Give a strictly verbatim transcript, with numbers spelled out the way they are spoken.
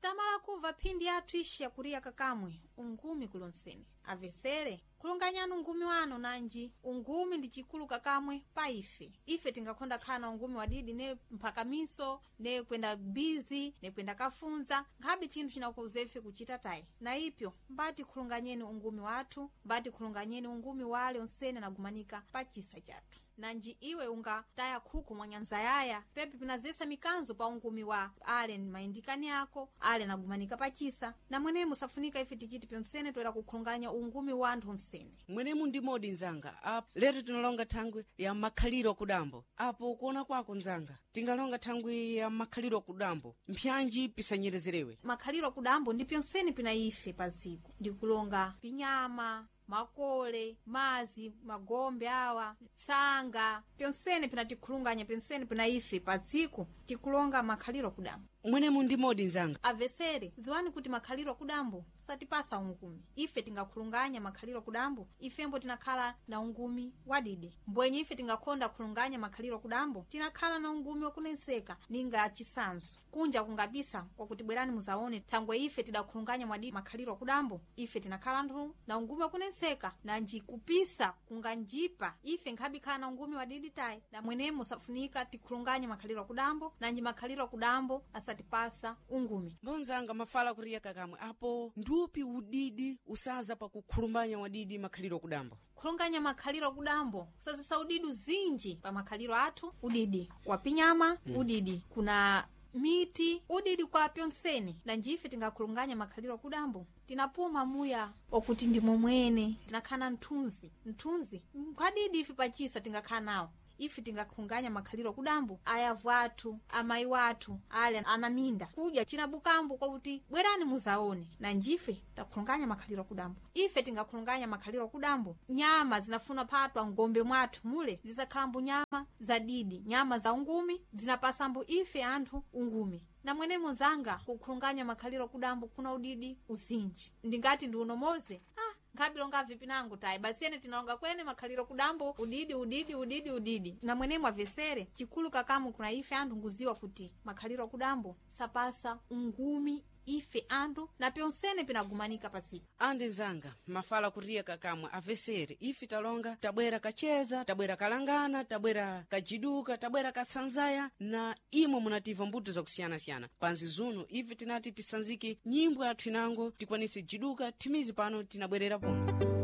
Tamala kuva phindi yathu ixi yakuriya kakamwe ungumi kulonsene avesere khulunganyani ungumi wanu nanji ungumi ndi chikulu kakamwe pa ife. Ife tingakhonda khala na ungumi wadidi ne mphakamiso, ne kwenda bizi, ne kwenda kafunza, nkhabe chinthu chinakuuza ife kuchita tayi. Na ipyo mbati khulunganyeni ungumi wathu, mbati khulunganyeni ungumi wale onsene anagumanika pa chisa chathu. Nanji iwe ungataya khuku mwa nyanza yaya pepe pinazesa mikanzo pa ungumi wa ale ni mayindikani ako ale anagumanika pachisa. Na mwenemo musafunika ife tichiti pyonsene toera kukhulunganya ungumi wa anthu onsene. Mwenemu ndi modi nzanga. Apo lero tinalonga thangwi ya makhaliro kudambo. Apo kuona kwako nzanga, tingalonga thangwi ya makhaliro kudambo mpyanji pisanyerezerewe? Makhaliro kudambo ndi pyonsene pina ife pa dziko, ndikulonga pinyama, makole, mazi, magombe awa, tsanga, pyonsene pinatikhulunganya, pyonsene pina ife pa dziko tikulonga makhaliro kudambo. Mwenemu ndi modi nzanga. Avesere, ziwani kuti makhaliro kudambo satipasa ungumi. Ife tingakhulunganya makhaliro kudambo, ifembo tinakhala na ungumi wadide. Mbwenye ife tingakhonda khulunganya makhaliro kudambo, tinakhala na ungumi wakunenseka ninga chisanzo kunja kungabisa kwakuti bwerani muzaone thangwe ife tidakhulunganya mwadidi makhaliro kudambo, ife tinakhala anthu na ungumi wakunenseka. Nanji kupisa kunganjipa ife nkhabikhala na ungumi wadidi tayi. Na mwenemo safunika tikhulunganye makhaliro kudambo, nanji makhaliro kudambo asatipasa ungumi. Mbonzanga mafala kuriya kakamwe, apo ndupi udidi usaza pakukhulumbanya wadidi makhaliro kudambo? Khulunganya makhaliro kudambo kusazisa udidi zinji pa makhaliro athu, udidi wa pinyama, mm. udidi kuna miti, udidi kwa pyonsene. Nanji ife tingakhulunganya makhaliro kudambo tinapuma muya wakuti ndi momwene tinakhala mthunzi, mthunzi nkhwadidi ife pachisa tingakhala nawo. Ife tingakhunganya makhaliro kudambo ayavu athu, amayi wathu ale anaminda kudya chinabukambo kwakuti bwerani muzaone. Nanjife takhulunganya makhaliro kudambo. Ife tingakhulunganya makhaliro kudambo nyama zinafuna phatwa ngombe mwathu mule zizakhalambo nyama zadidi, nyama za ungumi zinapasambo ife anthu ungumi. Na mwene munzanga kukhulunganya makhaliro kudambo kuna udidi uzinji ndingati ndi unomoze ah, nkhabilonga vipi nangu tayi basi ene tinalonga kwene makhaliro kudambo udidi udidi udidi udidi. Na mwenemo avesere chikulu kakamu kuna ife anthu nguziwa kuti makhaliro kudambo sapasa ungumi ife anthu na pyonsene pinagumanika paziko. Andi nzanga mafala kuriya kakamwe, avesere ife talonga tabwera kacheza, tabwera kalangana, tabwera kajiduka, tabwera kasanzaya na imwe munativa mbuto zakusiyanasiyana panzi zuno. Ife tinati tisanzike nyimbo yathu inango tikwanise jiduka thimizi pano tinabwerera pano.